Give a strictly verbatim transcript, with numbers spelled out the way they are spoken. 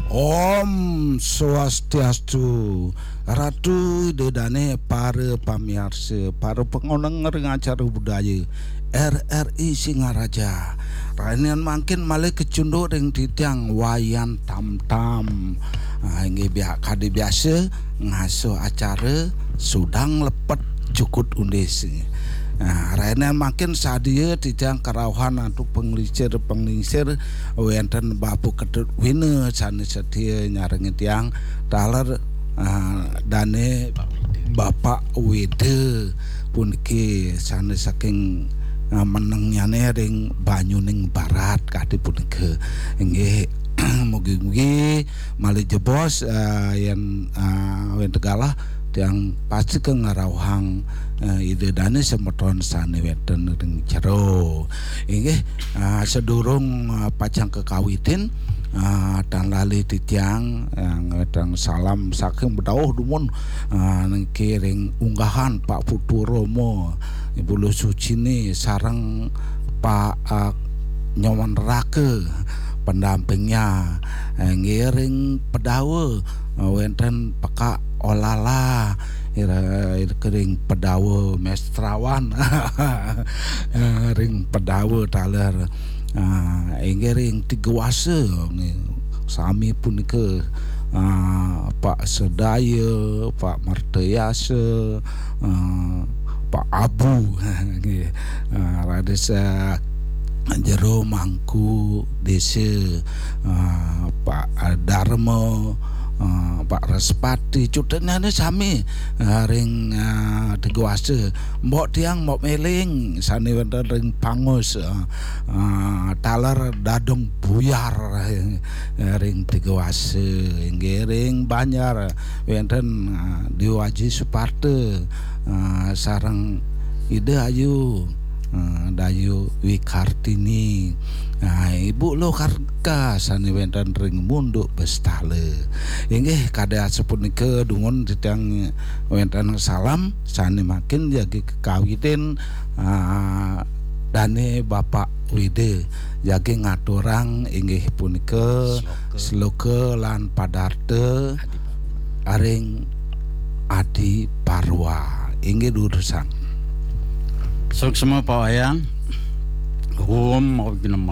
Om Swastiastu, Ratu Ida Dane, para pamiarsa, para pangoneng ring acara budaya R R I Singaraja. Rahinan mangkin malih kacunduk ring titiang Wayan Tamtam. Ah, inggih bia-, kadi biasa ngasuh acara sudang lepet jukut undis. Nah, rahinan mangkin sadia titiang karauhan antuk panglingsir-panglingsir wenten Bapak Ketut Wina sane setia nyarengin tiang taler, ah, dane Bapak Wida puniki sane saking, ah, menengnyane ring Banyuning Barat kadi punika. Inggih, mugi-mugi malih jebos, ah, yen, ah, wenten galah tiang pasti ka ngrauhang, eh, Ida Dane semeton sane wenten ring jero. Inggih, ah, sadurung, ah, pacang kakawitin, ah, tan lali titiang, ah, ngatang salam saking bedauh dumun, ah, niki ring unggahan Pak Putu Romo, Ibu Luh Sucini sareng Pak, ah, Nyoman Raka pendampingnya, eh, ngiring pedawa, eh, wenten Pekak Olala, ira, ira kering pedawa mestrawan, eh, ring pedawa taler, ah, inggih ring Tiga Wasa, nggih. Sami punika, ah, Pak Sedaya, Pak Mertayasa, ah, Pak Abu, nggih. Ah, raris, ah, Jero Mangku Desa, ah, Pak Darma, ah, Pak Respati, cutetnyane sami, ah, ring, ah, Tiga Wasa. Mbok tiang, Mbok Meling, sane wenten ring Pangus, ah, ah, taler Dadong Buyar, eh, ring Tiga Wasa, inggih ring Banjar, wenten, ah, Dewa Aji Suparta, ah, sareng Ida Ayu, ah, Dayu Wikartini, ah, Ibu Lokarka sane wenten ring Munduk Bestala. Inggih, kadi asapunika dumun titiang wenten salam sane mangkin jagi kakawitin, ah, dane Bapak Wida jagi ngaturang inggih punika sloka lan padarta ring Adi Parwa. Inggih durusang. Suksma Pak Wayan. Om Awighnam